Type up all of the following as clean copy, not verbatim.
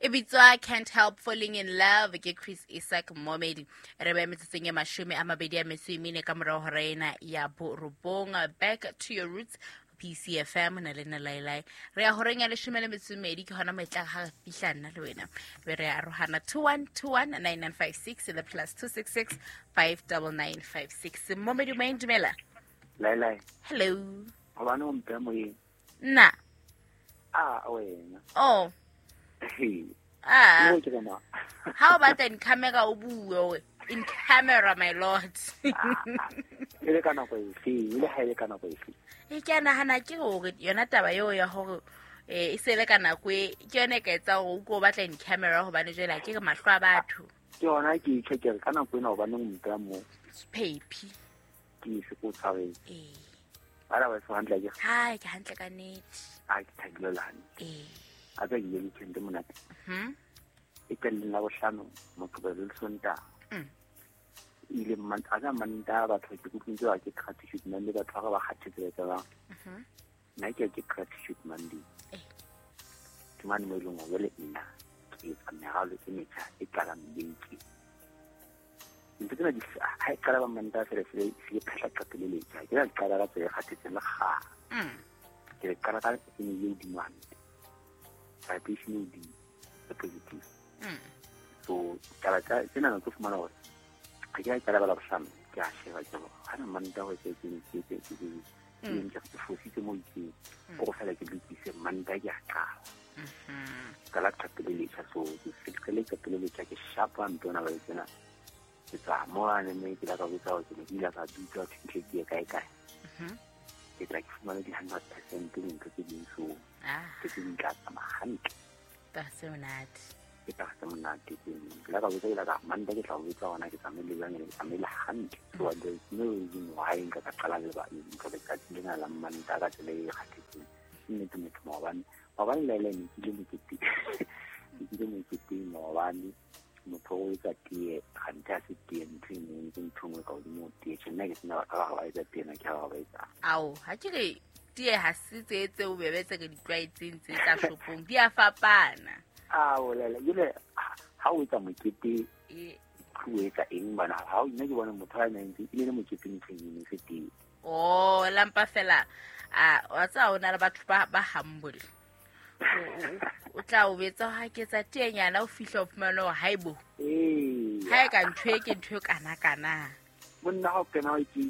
E bitswa Can't Help Falling in Love ke Chris Isaac Momedi. Re ba metsotsong e 24 ka morao hora ena ya borobong. Back to your roots, PCFM na le nna Lailai. Re ya horeng ya 12 ke hona mo e tlang ha re fihla nna le wena. Be re arohana 21219956 le +266 59956. Momedi o dumela. Lailai. Hello. Hobane o mpe moyeng. Nna. A wena. Oh. Ah. Ha o batla in camera o bue in camera, my lord. E le ka nako efe, e le ha e le ka nako efe. E ke a nahana ke hore yona taba eo ya hore e se le ka nako e ke yone e ka etsang hore o ko batla in camera, hobane jwale ha ke re mahlo a batho. Ke yona ke itjhe ke re ka nako ena hobaneng o mpeha moo. Phephi. Ke se ko tshwareng. Ee. Ba ba se hantle ke. Hai, ke hantle ka nnete. A ke thabile le hantle. Ee. A tsa ke ile weekend monate. Mhm. E qelleng la bohlano Moqebelo le Sontaha. Ile a tsa Mantaha batho ke kutlwile ba ke gratitude Monday, batho ba ba kgathetse ba etsa bang. Nna ke ke gratitude Monday. Ke mane mo e leng hore jwale nna ke etsa meralo e metjha e qalang beke. Ntho tsena di ha e qala ba Mantaha fela se se phehla qeto le letjha. Ke la qala ka tsela e kgathetseng le kgale. Ke le qala ka energy e hodimo hantle. Vibration e hodimo, e positive. So taba tsa tsena ke fumana hore ha ke a qala ba la bohlano, ke a sheba ke hore ha na Mantaha ho etse ke ke ke ke ke ke ke fositse mo itseng. Ko fela ke lokise Mantaha ke a qala. Qala qeto le letjha, so ke qale qeto le letjha ke shapa ntho ena ba e tsena. Ke tswa mane mme ke la ka botsa hore ke ne ke ile ka dutla ho fihle ke ye kae kae. Ke tla ke fumane di-100% dintho tse ding, so ke tse ding tla tsamaya hantle. Taba tse monate. Ke taba tse monate tse ding. Ke la ka botsa, ke la ka Mantaha ke tla o botsa hore na ke tsamaile jwang, ke tsamaile hantle. So there is no reason why nka ka qala le ba ntho letsatsi lena la Mantaha ka tsela e kgathetseng. Ke nnete motho maobane. Maobane le ene ke ile moketeng. Ke ile moketeng maobane. Motho o etsa tee, kganthe ha se tee, ntho e nngwe, ke ntho e nngwe ka hodimo ho tee. Tjhe, nna ke sena batho ba ba etsa tee, nna ke ha ba ba etsa. Ao, ha ke re tee ha se tse tse bobebe tse re di tlwaetseng tse tsa shopong, di a fapana. Ao, lele, jwale, ha o etsa mokete, o etsa eng bana? Ha o nna ke bona motho a nang ntse, e le mokete ntho e nngwe, se tee. Oh, lampa fela, a, wa tseba ho na le batho ba humble. O tla o betsa ha ke tsa tenyana o fihla o fumana hore haebo. Ee. Ha e ka ntho e ke ntho e kana kana. Monna ha o kena o ke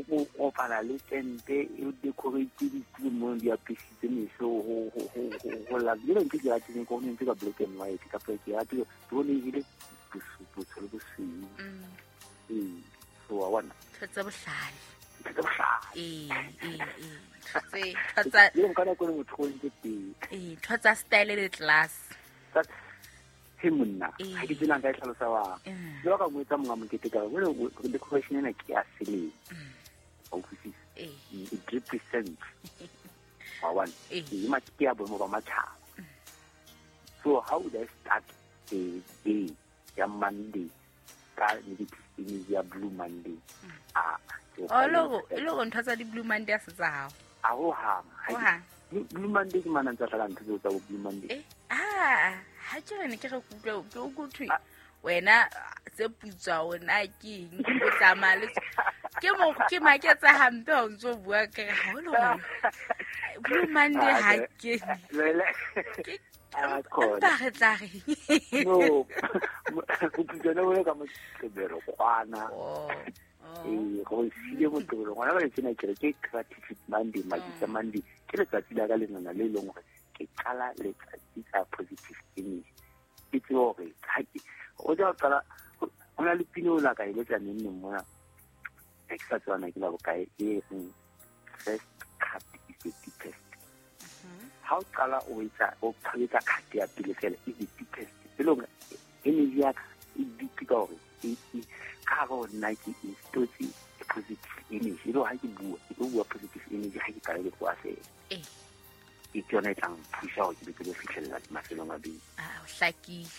o kopana le tente e decorate ditulo mo di apesitse meso ho la le ntho ke ratile ko ntse ka black and white ka ke ratile ke bone e le botsho le bosweu. Ee, so wa bona. Ntho tse bohlale. Ntho tse bohlale. Ee, ee, ee. Tse, ntho tsa Le nka nako le motho o ntse teng. Ee, ntho tsa style le class. Tsa he monna, Ee. ha ke tsena nka e hlalosa wa. Jwalo ka mo etsa monga mokete ka re, jwale decoration ena ke ya selemo. Wa utlwisisa? Ee. It represents. Wa bona? Ee. Ee, ke ya boemo ba matjhaba. So how would I start a day ya Monday ka negative energy ya Blue Monday? Ah, ke Oh, le go ntho tsa di-Blue Monday a se tsa hao? A ho hang. Ha Ho ke hang. Blue Monday ke mana ntse tla ntho tseo tsa bo Blue Monday. Ah, ha ke re ne ke re kutlwe, ke o kutlwe. Ah. Wena tse putswa ona ke eng? O tsamaya le ke mo ke maketsa hampe ha o ntso bua ke re ha o le hore Blue Monday ha Ah, ke. Lele. Ke Ah, khona. empa re tla reng? No. Boputswa bo le ka Moqebelo kwana. Oh. Oh. Ee, go sile Moqebelo ngwana ba tsena ke re ke gratitude Monday, Majitsa Monday. Ke letsatsi la ka lenana le leng hore ke qala letsatsi ka positive energy. Ke tsebe hore ha ke o tla qala ho na le pina o la ka e letsa neng neng mona. Ha ke sa tseba na ke la bokae e reng first cut is the deepest. Ha o qala o etsa o qhaletsa cut ya pele fela is the deepest. E le hore energy ya ka e deep ka hore e ka hare ho nna ke instotse positive energy. E le hore ha ke bua, ke tlo bua positive energy ha ke qala ke tloha fela. Ee. Ke yona e tlang thusa hore ke be ke lo fihlella mafelong a beke. Ah, o hlakile.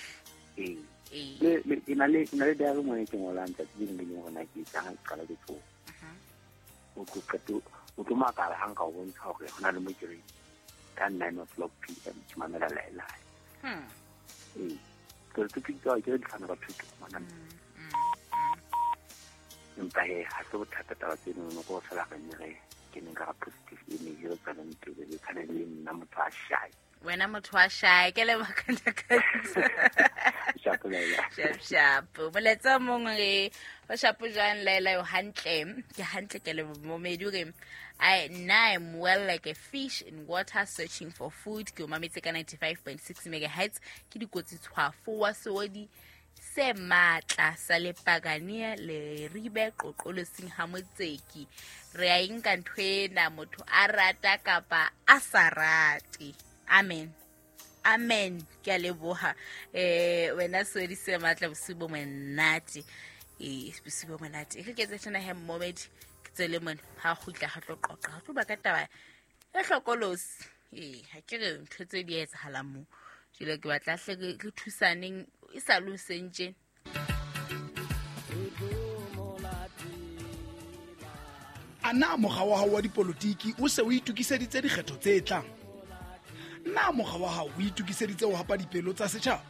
Ee. Ee. Le, ke na le, ke na le diary mo e ke ngolang tsatsi le leng le leng hore na ke etsang ha ke qala ke tsoha. O tlo qeto, o tlo makala ha nka o bontsha hore ho na le mo ke reng ka nine o'clock P M ke mamela Laelai. Ee, ke re ke ke re di fana ka thuto ngwana. Empa he ha se bothata taba tseno ko fela re ne re ke neng ka ga positive image re tsweleng pele le tshwane le nna motho a shy. Wena motho wa shy, ke leboga. Shapo Laila. Shap shap. Molaetsa o mongwe re o shapo jwang Laila? Yo hantle, ke hantle, ke le momedi o re I nna I'm well like a fish in water searching for food. Ke o mametse ka 95.6 megahertz. Ke dikotsi tshwafo wa seodi se matla sa lepakane le ribe qoqolosing ha motseki. Re a e nka ntho ena, motho a rata kapa a sa rate. Amen, amen. Ke a leboha wena seodi se matla. Bosiu bo monate, ee, bosiu bo monate. E re ke etse tjena he, mmomedi, ke tswele mone ha kgutla ha tlo qoqa, ha tlo ba ka taba e hlokolosi. Ee, ha ke re ntho tse di etsahalang mo jwale, ke batla hle re thusaneng e sa le hoseng tjena. A na mokga wa hao wa dipolotiki o se o itokiseditse dikgetho tse tlang? Na mokga wa hao o itokiseditse ho hapa dipelo tsa setjhaba?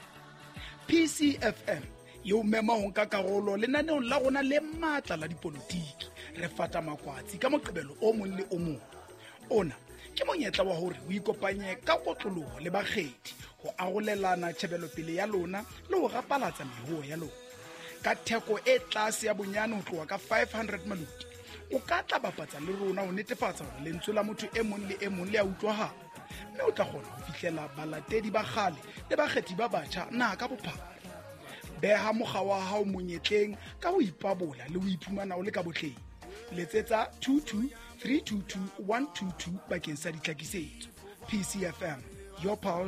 PCFM e o mema ho nka karolo lenaneong la rona le matla la dipolotiki re fata makwatsi ka Moqebelo o mong le o mong. Ona ke monyetla wa hore o ikopanye ka kotloloho le bakgethi ho arolelana tjhebelopele ya lona le ho rapalatsa mehoo ya lona ka theko e tlase ya bonyane ho tloha ka 500 maloti. O ka tla bapatsa le rona ho netefatsa hore lentswe la motho e mong le e mong le a utlwahala, mme o tla kgona ho fihlela balatedi ba kgale le bakgethi ba batjha naha ka bophara. Beha mokga wa hao monyetleng ka ho ipabola le ho iphumana o le ka botleng. Letsetsa 22 322 122 bakeng sa ditlhakisetso. PCFM, your pulse.